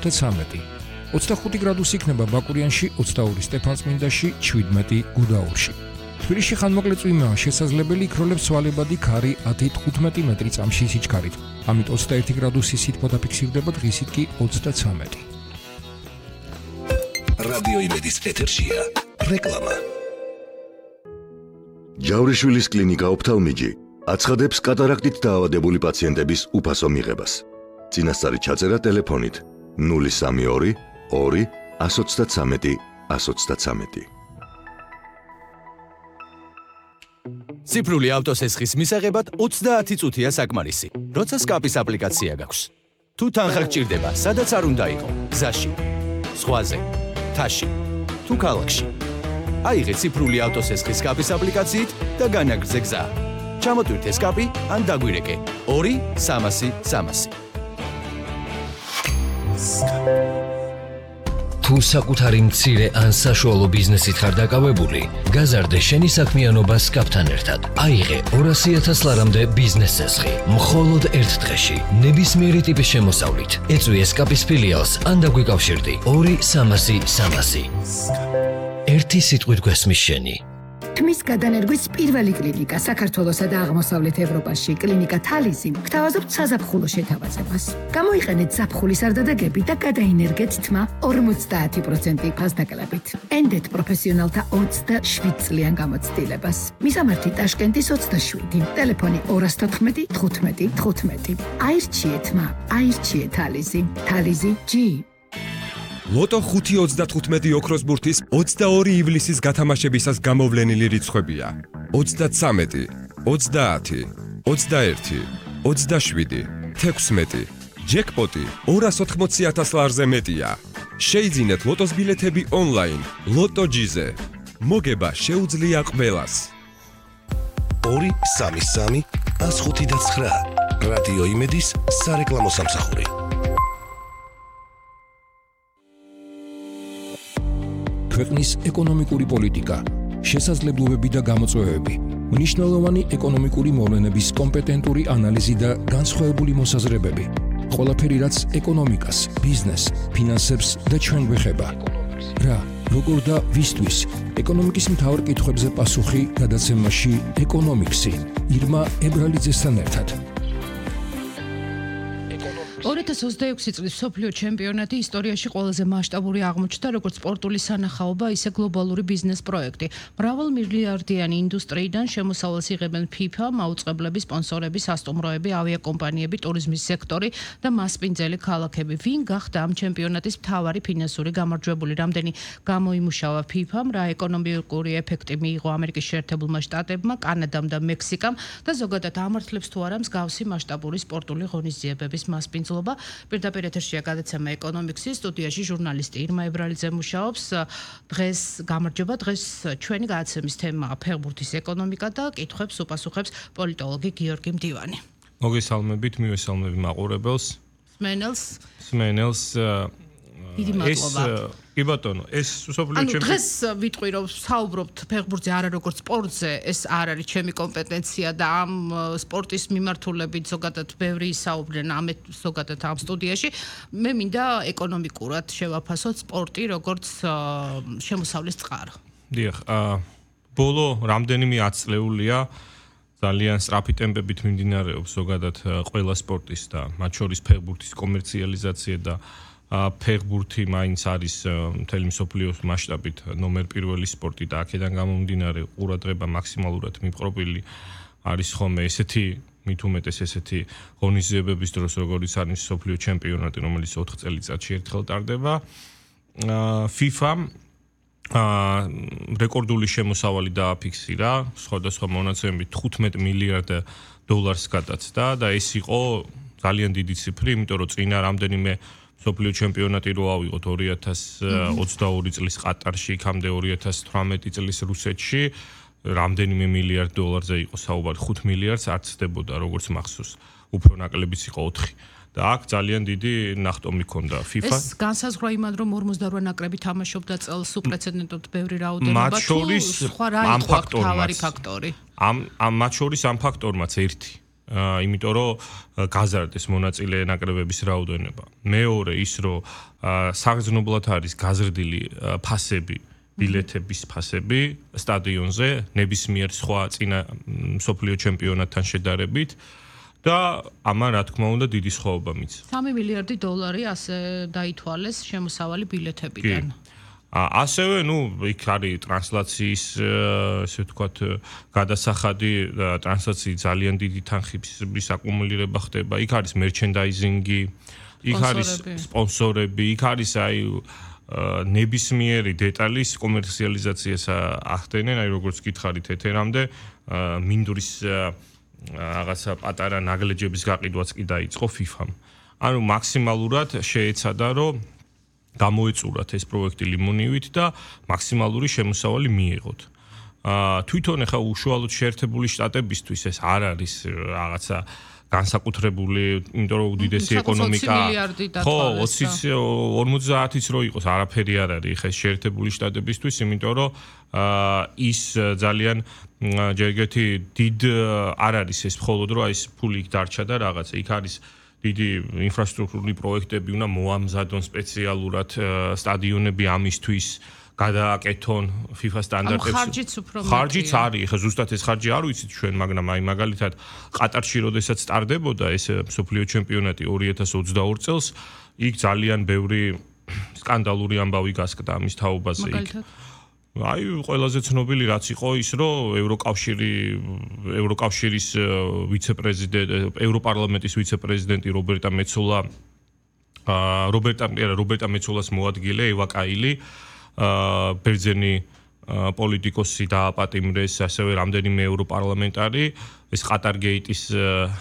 13. 25 გრადუსი იქნება ბაკურიანში, 22 სტეფანწმინდაში, 17 გუდაურში. თბილისში ხანმოკლე წვიმაა შესაძლებელი, იქროლებს სვალებადი ქარი 10-15 მეტრი წამში სიჩქარით. ამით 21 გრადუსი სითბო დაფიქსირდება, დღისით კი 33. რადიო იმედის ეთერშია რეკლამა. ჯავრიშვილის კლინიკა ოფთალმიჯი აცხადებს კატარაქტით დაავადებული პაციენტების უფასო მიღებას. წინასწარი ჩაწერა ტელეფონით 032 2 133 133. ციფრული ავტოსესხის მისაღებად 30 წუთია საკმარისი. როცა სკაპის აპლიკაცია გაქვს. თუ თანხა გჭირდება, სადაც არ უნდა იყო, გზაში, ზღვაზე, თაში, თუ ქალაქში. აიღე ციფრული ავტოსესხის სკაპის აპლიკაციით და განაგრძე გზა. ჩამოტვირთე სკაპი ან დაგვირეკე 2-300-300. თუ საკუთარი მცირე ან საშუალო ბიზნესით ხარ დაკავებული, გაზარდე შენი საქმიანობა სკაპთან ერთად. აიღე 200,000 ლარამდე ბიზნეს ცესხი, მხოლოდ ერთ დღეში, ნებისმიერი ტიპის შემოსავლით. ეწვიე სკაპის ფილიალს ან დაგვიკავშირდი 2-300-300. ერთი სიტყვით გვესმის შენი. თმის გადანერგვის პირველი კლინიკა საქართველოსა და აღმოსავლეთ ევროპაში, კლინიკა თალიზი, გთავაზობთ საზაფხულო შეთავაზებას. გამოიყენეთ ზაფხულის არდადეგები და გადაინერგეთ თმა 50% ფასდაკლებით. ენდეთ პროფესიონალთა 27 წლიან გამოცდილებას. მისამართი ტაშკენტის 27, ტელეფონი 214 15 15. აირჩიე თმა, აირჩიე თალიზი. თალიზი G. ლოტო 5-35 ოქროს ბურთის 22 ივლისის გათამაშებისას გამოვლენილი რიცხვებია. 33, 30, 21, 27, 16. ჯეკპოტი 280,000 ლარზე მეტია. შეიძინეთ ლოტოს ბილეთები ონლაინ, ლოტო-ჯიზე. მოგება შეუძლია ყველას. 233 105 რადიო იმედის სარეკლამო სამსახური. ქვეყნის ეკონომიკური პოლიტიკა, შესაძლებლობები და გამოწვევები, მნიშვნელოვანი ეკონომიკური მოვლენების კომპეტენტური ანალიზი და განსხვავებული მოსაზრებები. ყველაფერი, რაც ეკონომიკას, ბიზნესს, ფინანსებს და ჩვენ გვეხება. რა, როგორ და ვისთვის? ეკონომიკის მთავარ კითხვებზე პასუხი გადაცემაში ეკონომიქსი, ირმა ებრალიძესთან ერთად. 2026 წლის მსოფლიო ჩემპიონატი ისტორიაში ყველაზე მასშტაბური აღმოჩნდა როგორც სპორტული სანახაობა, ისე გლობალური ბიზნეს პროექტი. მრავალ მილიარდიანი ინდუსტრიიდან შემოსავალს იღებენ FIFA, მაუწყებლები, სპონსორები, სასტუმროები, ავიაკომპანიები, ტურიზმის სექტორი და მასპინძელი ქალაქები. ვინ გახდა ამ ჩემპიონატის მთავარი ფინანსური გამარჯვებული? რამდენი გამოიმუშავა FIFA-მ, რა ეკონომიკური ეფექტი მიიღო ამერიკის შეერთებულმა შტატებმა, კანადამ და მექსიკამ და ზოგადად ამართლებს თუ არა მსგავსი მასშტაბური სპორტული ღონისძიებების მასპინძლობა. პირდაპირ ეთერშია გადაცემა ეკონომიქსის, სტუდიაში ჟურნალისტი ირმა ებრალიძე მუშაობს. დღეს გამარჯობა, დღეს ჩვენი გადაცემის თემაა ფეხბურთის ეკონომიკა და კითხვებს უპასუხებს პოლიტოლოგი გიორგი მდივანი. მოგესალმებით, მივესალმები მაყურებელს. სმენელს დიდი მადლობა. კი ბატონო, ეს მსოფლიო ჩემპიონატი. დღეს ვიტყვი რომ საუბრობთ ფეხბურთზე არა როგორც სპორტზე, ეს არ არის ჩემი კომპეტენცია და ამ სპორტის მიმართულებით ზოგადად ბევრი ისაუბრენ ზოგადად ამ სტუდიაში. მე მინდა ეკონომიკურად შევაფასოთ სპორტი როგორც შემოსავლის წყარო. დიახ, ბოლო რამდენიმე ათწლეულია ძალიან სწრაფი ტემპებით მიმდინარეობს ზოგადად ყველა სპორტის და მათ შორის ფეხბურთის კომერციალიზაცია და ფეხბურთი მაინც არის მთელი მსოფლიოს მასშტაბით ნომერ პირველი სპორტი და აქედან გამომდინარე ყურადღება მაქსიმალურად მიპყრობილი არის ხოლმე ესეთი მით უმეტეს ესეთი ღონისძიებების დროს როგორიც არის მსოფლიო ჩემპიონატი, რომელიც 4 წელიწადში ერთხელ ტარდება. FIFA-მ რეკორდული შემოსავალი დააფიქსირა, სხვადასხვა მონაცემებით 15 მილიარდ დოლარს გადაცდა და ეს იყო ძალიან დიდი ციფრი, იმიტომ რომ წინა რამდენიმე მსოფლიო ჩემპიონატი რო ავიღოთ 2022 წლის ყატარში, იქამდე 2018 წლის რუსეთში, რამდენიმე მილიარდ დოლარზე იყო საუბარი, 5 მილიარდს არ ცდებოდა როგორც მახსოვს, უფრო ნაკლებიც იყო 4. და აქ ძალიან დიდი ნახტომი ქონდა FIFA. ეს განსაზღვრა იმად რომ 48 ნაკრები თამაშობდა წელს უპრეცედენტოდ ბევრი რაოდენობა თუ სხვა რა იყო თავარი ფაქტორი? ამ მათ შორის ამ ფაქტორმაც ერთი იმიტომ რომ გაზარდეს მონაწილე ნაკრებების რაოდენობა. მეორე ის რომ საგრძნობლად არის გაზრდილი ფასები, ბილეთების ფასები სტადიონზე ნებისმიერ სხვა წინა მსოფლიო ჩემპიონატთან შედარებით და ამან რა თქმა უნდა დიდი სხვაობა მიცა. 3 მილიარდი დოლარი ასე დაითვალეს შემოსავალი ბილეთებიდან. ასევე, იქ არის ტრანსლაციის, ესე ვთქვათ, გადასახადი, ტრანსლაციის ძალიან დიდი თანხების აკუმულირება ხდება. იქ არის მერჩენდაიზინგი, იქ არის სპონსორები, იქ არის ნებისმიერი დეტალის კომერციალიზაციას ახდენენ, როგორც გითხარით ეთერამდე, მინდვრის რაღაცა პატარა ნაგლეჯების გაყიდვაც კი დაიწყო FIFA-მ. ანუ მაქსიმალურად შეეცადა, რომ გამოეწურათ ეს პროექტი ლიმონივით და მაქსიმალური შემოსავალი მიიღოთ. თვითონ ახლა უშუალოდ შეერთებული შტატებისთვის ეს არ არის რაღაცა განსაკუთრებული, იმიტომ რომ უდიდესი ეკონომიკა. ხო, 50-იც რო იყოს, არაფერი არ არის ხა შეერთებული შტატებისთვის, იმიტომ რომ ის ძალიან ჯერგეთი დიდ არ არის ეს მხოლოდ რომ ეს ფული იქ დარჩა და რაღაცა იქ არის დიდი ინფრასტრუქტურული პროექტები უნდა მოამზადონ სპეციალურად სტადიონები ამისთვის გადააკეთონ FIFA სტანდარტებს. ხარჯიც არის, ხა ზუსტად ეს ხარჯი არ ვიცით ჩვენ, მაგრამ აი მაგალითად ყატარში როდესაც სტარდებოდა ეს მსოფლიო ჩემპიონატი 2022 წელს, იქ ძალიან ბევრი სკანდალური ამბავი გასკდა ამის თაობაზე იქ. აი ყველაზე ცნობილი რაც იყო ის რომ ევროკავშირის ვიცე-პრეზიდენტი, ევროპარლამენტის ვიცე-პრეზიდენტი რობერტა მეცოლას მოადგილე ევა კაილი ბერძენი პოლიტიკოსი დააპატიმრეს, ასევე რამდენიმე ევროპარლამენტარი, ეს ყატარგეიტის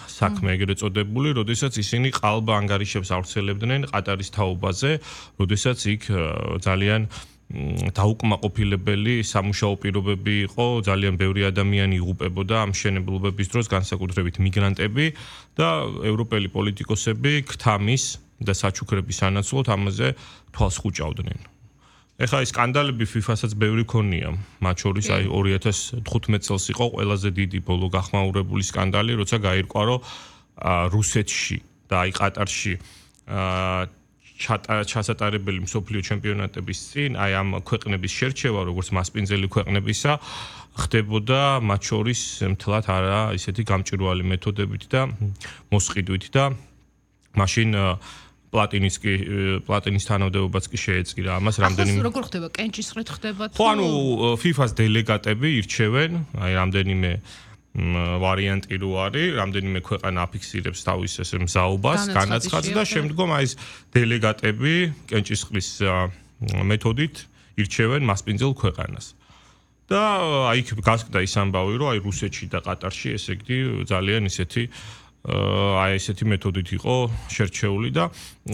საქმე ეგრეთ წოდებული, როდესაც ისინი ყალბ ანგარიშებს ავრცელებდნენ ყატარის თაობაზე, როდესაც იქ ძალიან დაუკმაყოფილებელი სამუშაო პირობები იყო, ძალიან ბევრი ადამიანი იღუპებოდა ამ მშენებლობების დროს, განსაკუთრებით მიგრანტები და ევროპელი პოლიტიკოსები ქთამის და საჩუქრების სანაცვლოდ ამაზე თვალს ხუჭავდნენ. ეხლა ეს სკანდალები FIFA-საც ბევრი ქონია, მათ შორის აი 2015 წელს იყო ყველაზე დიდი ბოლო გახმაურებული სკანდალი, როცა გაირკვა, რომ რუსეთში და აი ყატარში ჩასატარებელი მსოფლიო ჩემპიონატების წინ, აი ამ ქვეყნების შერჩევა, როგორც მასპინძელი ქვეყნებისა, ხდებოდა მათ შორის მთლად არა ისეთი გამჭვირვალე მეთოდებით და მოსყიდვით და მაშინ პლატინის თანამდებობაც კი შეეწირა ამას რამდენიმე. ახლა როგორ ხდება? კენჭისყრით ხდება თუ? ხო, ანუ FIFA-ს დელეგატები ირჩევენ, აი რამდენიმე ვარიანტი რო არის, რამდენიმე ქვეყანა აფიქსირებს თავის ეს მზაობას, განაცხადს და შემდგომ აი ეს დელეგატები კენჭისყრის მეთოდით ირჩევენ მასპინძელ ქვეყანას. და აი იქ გასკდა ის ამბავი, რომ აი რუსეთში და ყატარში ესე იგი ძალიან ისეთი აი ესეთი მეთოდით იყო შერჩეული და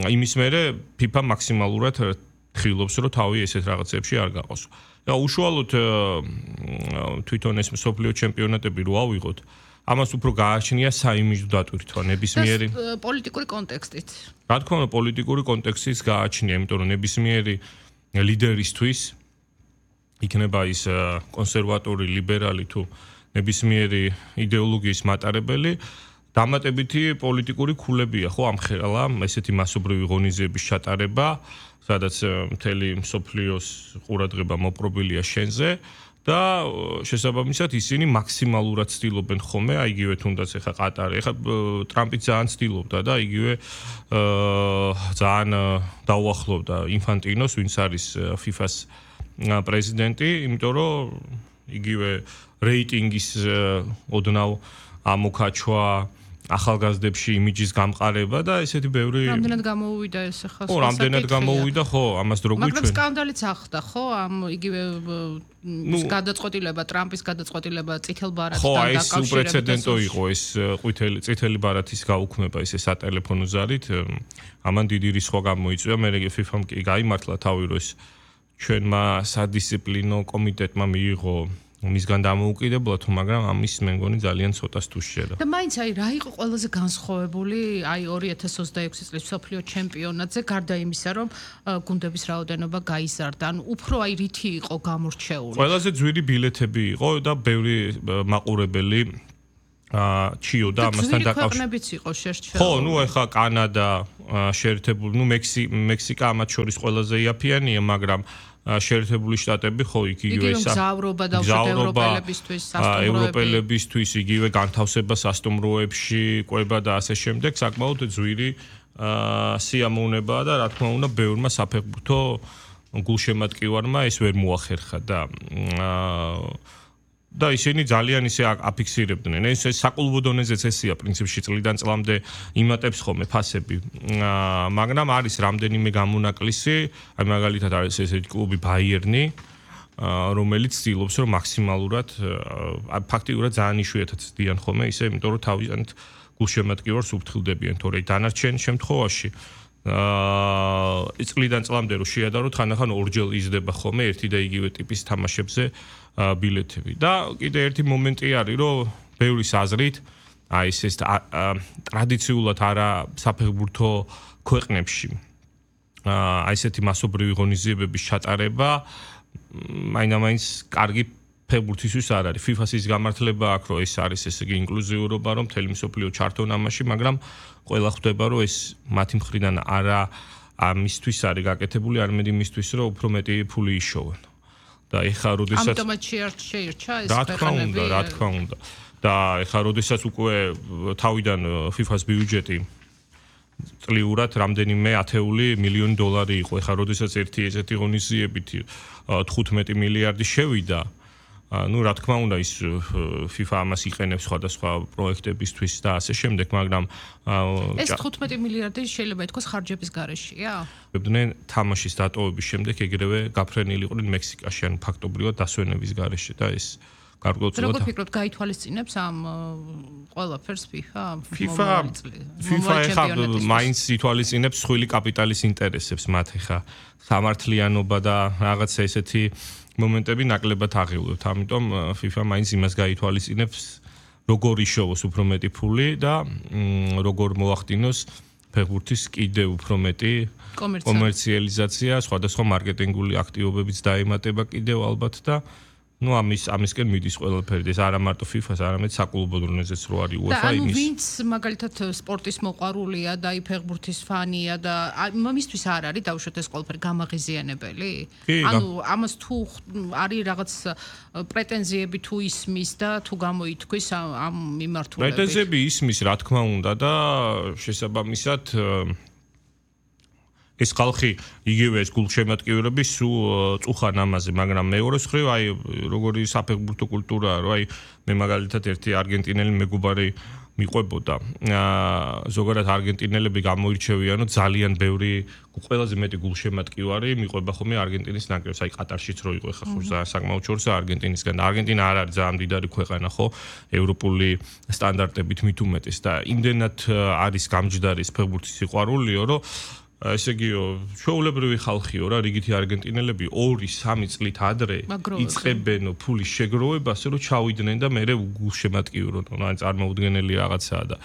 იმის მერე FIFA მაქსიმალურად ხილობს, რომ თავი ესეთ რაღაცებში არ გაყოს. და უშუალოდ თვითონ ეს მსოფლიო ჩემპიონატები რო ავიღოთ, ამას უფრო გააჩნია საიმიჯო დატვირთვა ნებისმიერი პოლიტიკური კონტექსტით. რა თქმა უნდა, პოლიტიკური კონტექსტიც გააჩნია, იმიტომ რომ ნებისმიერი ლიდერისთვის იქნება ის კონსერვატორი, ლიბერალი თუ ნებისმიერი იდეოლოგიის მატარებელი, დამატებითი პოლიტიკური ქულებია, ხო, ამხელა ესეთი მასობრივი ღონისძიების ჩატარება, სადაც მთელი მსოფლიოს ყურადღება მოპყრობილია შენზე და შესაბამისად ისინი მაქსიმალურად ცდილობენ ხოლმე, აი იგივე თუნდაც ეხა ყატარი, ეხა ტრამპი ძალიან ცდილობდა და იგივე ძალიან დაუახლოვდა ინფანტინოს, ვინც არის FIFA-ს პრეზიდენტი, იმიტომ რომ იგივე რეიტინგის ოდნავ ამოქაჩვა, ახალგაზრდებში იმიჯის გამყარება და ესეთი ბევრი რამდენად გამოუვიდა ეს ახლა ხო, რამდენად გამოუვიდა, ხო, ამას დრო გვიჩვენ. მაგრამ სკანდალიც ახდა, ხო, ამ იგივე გადაწყვეტილება, ტრამპის გადაწყვეტილება წითელ ბარათთან დაკავშირებით. ხო, ეს უპრეცედენტო იყო ეს წითელი ბარათის გაუქმება ისე სატელეფონო ზარით, ამან დიდი რისხვა გამოიწვია, მე FIFA-მ კი გაიმართლა თავი, რომ ეს ჩვენმა სადისციპლინო კომიტეტმა მიიღო მისგან დამოუკიდებლა თუ მაგრამ ამის მე მგონი ძალიან ცოტას თუ შედა. და მაინც აი რა იყო ყველაზე განსხვავებული აი 2026 წლის მსოფლიო ჩემპიონატზე გარდა იმისა რომ გუნდების რაოდენობა გაიზარდა, ანუ უფრო აი რითი იყო გამორჩეული. ყველაზე ძვირი ბილეთები იყო და ბევრი მაყურებელი ჩიო და ამასთან დაკავშირებით იყო შერჩეული. ხო, ნუ ეხა კანადა შეერთებული, ნუ მექსიკა ამათ შორის ყველაზე იაფიანია, მაგრამ შეერთებული შტატები ხო იგივე გზავრობა და ევროპელებისთვის სასტუმროები. ევროპელებისთვის იგივე განთავსება სასტუმროებში, კვება და ასე შემდეგ, საკმაოდ ძვირი სიამოვნებაა და რა თქმა უნდა ბევრმა საფეხბურთო გულშემატკივარმა ეს ვერ მოახერხა და ისინი ძალიან ისე აფიქსირებდნენ. ეს საკლუბო დონეზეც ესია პრინციპში წლიდან წლამდე იმატებს ხოლმე ფასები. მაგრამ არის რამდენიმე გამონაკლისი, აი მაგალითად არის ესეთი კლუბი ბაიერნი, რომელიც ცდილობს რომ მაქსიმალურად ფაქტიურად ძალიან იშვიათად ცდიან ხოლმე ისე, იმიტომ რომ თავიანთ გულშემატკივარს უფრთხილდებიან, თორე დანარჩენ შემთხვევაში წლიდან წლამდე რომ შეადაროთ, ხანდახან ორჯერ იზრდება ხოლმე ერთი და იგივე ტიპის თამაშებზე ბილეთები. და კიდე ერთი მომენტი არის, რომ ბევრის აზრით, აი ეს ტრადიციულად არა საფეხბურთო ქვეყნებში აი ესეთი მასობრივი ღონისძიებების ჩატარება მაინც კარგი ფეხბურთისთვის არ არის. FIFA-ს ის გამართლება აქვს, რომ ეს არის ესე იგი ინკლუზიურობა, რომ მთელი მსოფლიო ჩართონ ამაში, მაგრამ ყველა ხვდება, რომ ეს მათი მხრიდან არა ამისთვის არის გაკეთებული, არამედ იმისთვის, რომ უფრო მეტი ფული იშოვენ. და ეხა როდესაც ამიტომაც შეირჩა ეს ქვეყნები. რა თქმა უნდა. და ეხა როდესაც უკვე თავიდან FIFA-ს ბიუჯეტი წლიურად რამდენიმე ათეული მილიონი დოლარი იყო. ეხა როდესაც ერთი ესეთი ღონისძიებით 15 მილიარდი შევიდა, ну, რა თქმა უნდა, ის FIFA ამას იყენებს სხვადასხვა პროექტებისთვის და ასე შემდეგ, მაგრამ ეს 15 მილიარდი შეიძლება ითქვას ხარჯების გარეშეა? ვებდნენ თამაშის დატოვების შემდეგ ეგრევე გაფრენილი იყვნენ მექსიკაში, ან ფაქტობრივად დასვენების გარეშე და ეს გარკვეულწილად როგორ ფიქრობთ, გაითვალისწინებს ამ ყველაფერს FIFA? FIFA ეხა მაინც ითვალისწინებს სხვილი კაპიტალის ინტერესებს, მათ ეხა სამართლიანობა და რაღაცა ესეთი მომენტები ნაკლებად აღივლევთ. ამიტომ FIFA მაინც იმას გაითვალისწინებს, როგორ იშოვოს უფრო მეტი ფული და როგორ მოახდინოს ფეხბურთის კიდევ უფრო მეტი კომერციალიზაცია, სხვადასხვა მარკეტინგული აქტივობებიც დაემატება კიდევ ალბათ და ну ამისკენ მიდის ყველაფერი. ეს არა მარტო FIFA-ს, არამედ საკლუბო დონეზეც რო არის UEFA იმის. და ვინც მაგალითად სპორტის მოყვარულია და ფეხბურთის ფანია და მისთვის არ არის დაუშვათ ეს ყველაფერი გამაღიზიანებელი? ანუ ამას თუ არის რაღაც პრეტენზიები თუ ისმის და თუ გამოითქვის ამ მიმართულებით? პრეტენზიები ისმის, რა თქმა უნდა და შესაბამისად ეს ხალხი იგივე ეს გულშემატკივრები სულ წუხან ამაზე, მაგრამ მეორე მხრივ აი როგორი საფეხბურთო კულტურაა, რომ აი მე მაგალითად ერთი არგენტინელი მეგობარი მიყვებოდა. ზოგადად არგენტინელები გამოირჩევიან, რომ ძალიან ბევრი ყველაზე მეტი გულშემატკივარი მიყვება ხოლმე არგენტინის ნაკრებს. აი ყატარშიც რო იყო ხა ხო საკმაოდ შორსა არგენტინისგან. არგენტინა არ არის ძალიან მდიდარი ქვეყანა ხო, ევროპული სტანდარტებით მით უმეტეს და იმდენად არის გამჯდარი ფეხბურთის სიყვარულიო, რომ ესე იგიო, ჩვეულებრივი ხალხიო რა, რიგითი არგენტინელები 2-3 წლით ადრე იწყებენ ფულის შეგროვებას, რომ ჩავიდნენ და მერე გულშემატკივრონ, ანუ წარმოუდგენელი რაღაცაა და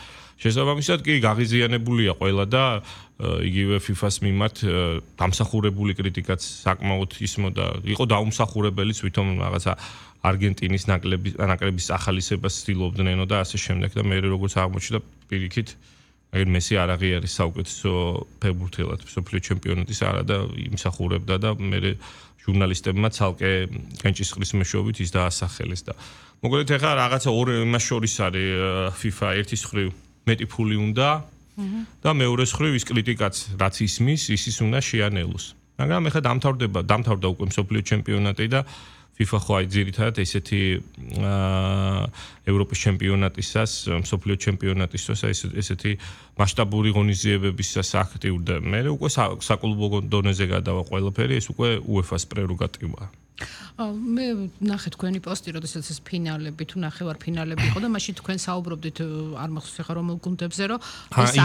შესაბამისად კი გაღიზიანებულია ყველა და იგივე FIFA-ს მიმართ დამსახურებული კრიტიკაც საკმაოდ ისმოდა, იყო დაუმსახურებელიც ვითომ რაღაცა არგენტინის ნაკრების ახალისებას ცდილობდნენო და ასე შემდეგ და მერე როგორც აღმოჩნდა პირიქით აი მესი არ აღიარის საუკეთესო ფეხბურთელად მსოფლიო ჩემპიონატის არა და იმსახურებდა და მე ჟურნალისტებმა ცალკე კენჭისყრის მეშვეობით ის დაასახელეს და მოკლედ ეხლა რაღაცა ორი იმას შორის არის FIFA ერთის მხრივ მეტი ფული უნდა და მეორეს მხრივ ის კრიტიკაც რაც ისმის ისის უნდა შეანელოს მაგრამ ეხლა დამთავრდა უკვე მსოფლიო ჩემპიონატი და FIFA ხო აი ძირითადად ესეთი ევროპის ჩემპიონატისას, მსოფლიო ჩემპიონატისას ესეთი მასშტაბური ღონისძიებებისას აქტიურდა. მე უკვე საკლუბო დონეზე გადავა ყველაფერი, ეს უკვე UEFA-ს პრეროგატივაა. მე ნახე თქვენი პოსტი, როდესაც ეს ფინალები თუ ნახევარფინალები იყო და მაშინ თქვენ საუბრობდით არ მახსოვს ახლა რომელ გუნდებზე, რომ ეს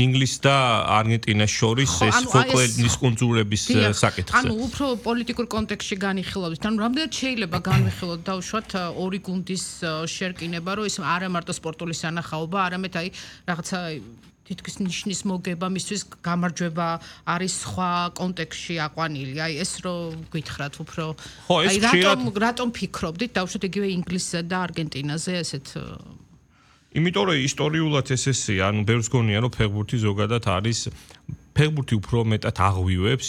ინგლისს და არგენტინას შორის ეს ფოლკლორის კუნძულების საკითხზე. ანუ უფრო პოლიტიკურ კონტექსტში განიხილავთ. ანუ რამდენად შეიძლება განვიხილოთ დაუშვათ ორი გუნდის შერკინება, რომ ეს არა მარტო სპორტული სანახაობა, არამედ აი რაღაცა თითქოს ნიშნის მოგება მისთვის გამარჯვება არის სხვა კონტექსტში აყვანილი. აი ეს რო გითხრათ უფრო აი რატომ ფიქრობდით დავუშვათ იგივე ინგლისსა და არგენტინაზე ესეთ იმიტომ რომ ისტორიულად ესეა, ანუ ბევრს გონია რომ ფეხბურთი ზოგადად არის ფეხბურთი უფრო მეტად აღვივებს